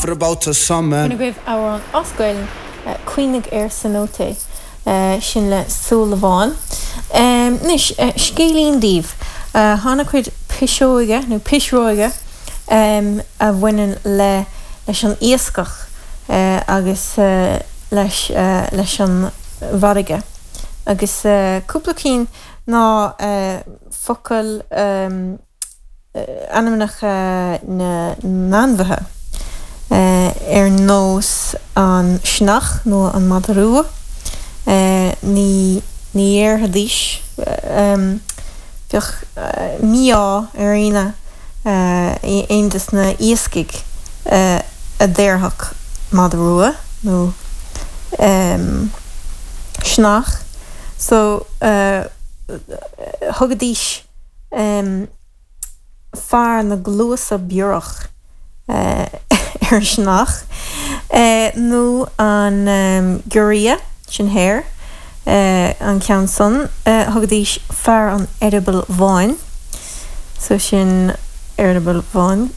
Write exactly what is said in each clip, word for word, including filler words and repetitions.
For about a summer. Sin agaibh amhrán as Gaeilge Cuimhnigh ar Cenote sin le Súilleabháin. Anois scéilín daoibh tá an-chuid piseoige nó pisreoige a bhaineann le leis an iascach agus leis leis an bhfarraige. Agus cúpla cinn ná focail ainmneacha na n-ainmhithe. Ar nós an sionnach nó an madra rua ní ní dhéarfaidís bheadh mí-ádh ar aoinne aon des na iascaigh a déarfadh madra rua nó sionnach so thugaidís fear na gcluasa biorach ar an sionnach nó an giorria sin hare an ceann san thugaidís fear an eireabaill bháin so sin eireaball bháin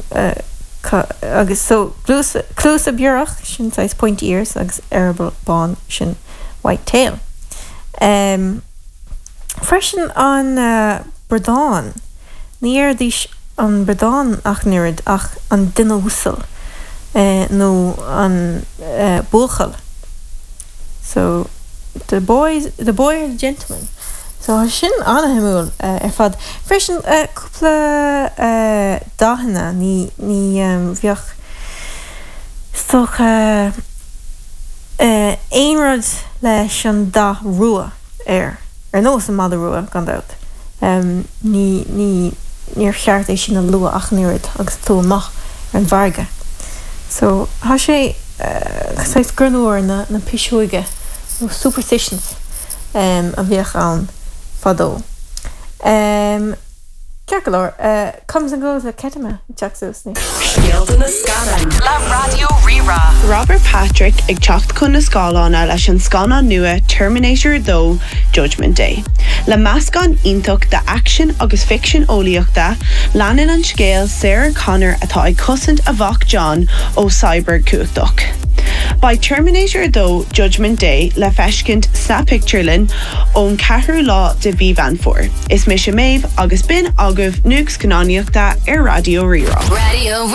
agus so cluasa biorach sin saghas pointy ears agus eireaball bán sin white tail. Um, freisin an uh, bradán ní dhéarfaidís an bradán ach an oiread ach an duine uasal uh, nó an uh, buachaill. So the boys the boy or the gentleman. So sin an-shuimiúil uh, ar fad. Freisin uh, cúpla uh, dathanna ní ní um, bheadh stocha uh, aon rud leis an dath rua air ar nós an madra rua gan dabht. Um, ní ní níor cheart é sin a lua ach an oiread agus tú amach ar an bhfarraige. So tá sé uh, greannmhar na, na pisreoige nó superstitions um, a bheadh ann fadó. Um, Ceart go leor uh, comes and goes le Ketama teach ní. Scéalta na scannán le Raidió Rí-Rá. Robert Patrick ag teacht chun na scáileáin leis an scannán nua Terminator dó Judgment Day. Le meascán iontach de action agus ficsean eolaíochta, leanann an scéal Sarah Connor atá ag cosaint a mhac John ó cyborg cumhachtach. Beidh Terminator dó Judgment Day le feiscint sa pictiúrlann ón ceathrú lá de mhí Mheán Fómhair. Is mise Méabh agus b'in agaibh nuacht scannánaíochta ar Raidió Rí-Rá. Raidió